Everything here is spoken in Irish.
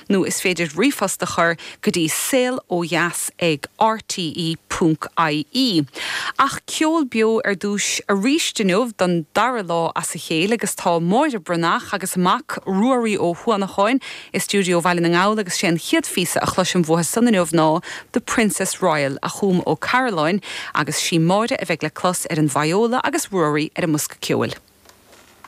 Nó is féidir ríomhphost a chur go dtí saol ó dheas ag rte ponc ie. Ach ceol beo ar dtús arís inniu don dara lá as a chéile agus tá Máire Breathnach agus a mac Ruairí Ó hUanacháin i stiúideo Bhaile na nGall agus sé an chéad phíosa a chloisim uathu san inniu ná The Princess Royal a chum Ó Cairealláin agus sí Máire a bheidh le clos ar an vióla agus Ruairí ar an mbosca ceoil.